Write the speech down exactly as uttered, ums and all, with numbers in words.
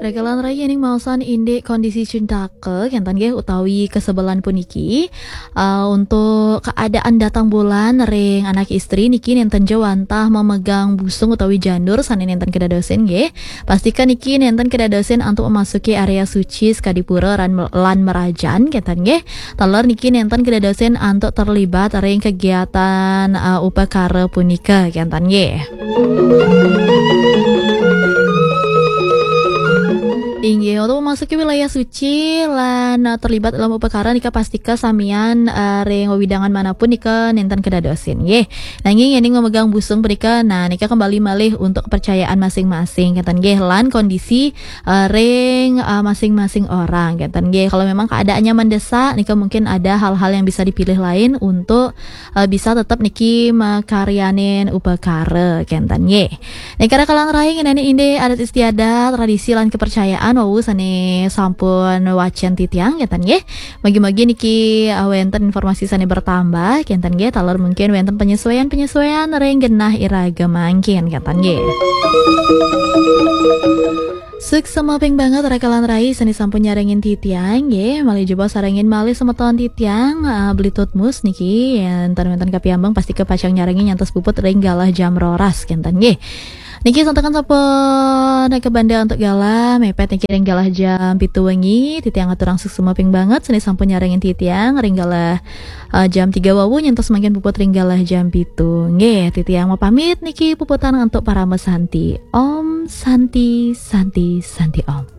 Ragalan rai, ning maosan indik kondisi cintaka, kénten nggih, utawi kesebelan puniki. Eh, untuk keadaan datang bulan ring anak istri niki nénten ja wantah memegang busung utawi janur sané nénten kedadosin nggih. Pastika niki nénten kedadosin antuk memasuki area suci sakadi pura lan, lan merajan, kénten nggih. Taler niki nénten kedadosin antuk terlibat ring kegiatan, eh, upakara punika, kénten nggih. Inggih, untuk memasuki wilayah suci lan, eh, terlibat dalam upakara nika pastika samian, eh, ring wewidangan manapun nika nénten kedadosin nggih. Nanging yéning memegang busung punika, nah, nika kembali malih untuk kepercayaan masing-masing, kénten nggih, lan kondisi, eh, ring, eh, masing-masing orang, kénten nggih. Kalau memang keadaannya mendesak, nika mungkin ada hal-hal yang bisa dipilih lain untuk, eh, bisa tetap niki makaryanin upakara, kénten nggih. Nika ragalan rai, ngenani indik adat istiadat, tradisi lan kepercayaan wau sané sampun wacén titiang, kénten nggih. Mugi-mugi niki, eh, wénten informasi sané bertambah, kénten nggih, taler mungkin wénten penyesuaian-penyesuaian ring genah iraga mangkin, kénten nggih. Suksma ping banget ragalan rai sané sampun nyarengin titiang nggih, malih jebos sarengin malih semeton titiang, eh, Beli Tutmus niki, yén ten wénten kapiambeng pastika pacang nyarengin nyantos puput ring galah jam roras, kénten nggih. Niki santukan sampun kabanda untuk galah, mepet niki ring galah jam pitu wengi, titiang aturang suksma ping banget sané sampun nyarengin titiang ring galah, eh, jam tiga wau nyantos mangkin puput ring galah jam pitu. Nggih, titiang mapamit niki, puputang antuk parama santi. Om Santi, Santi, Santi Om.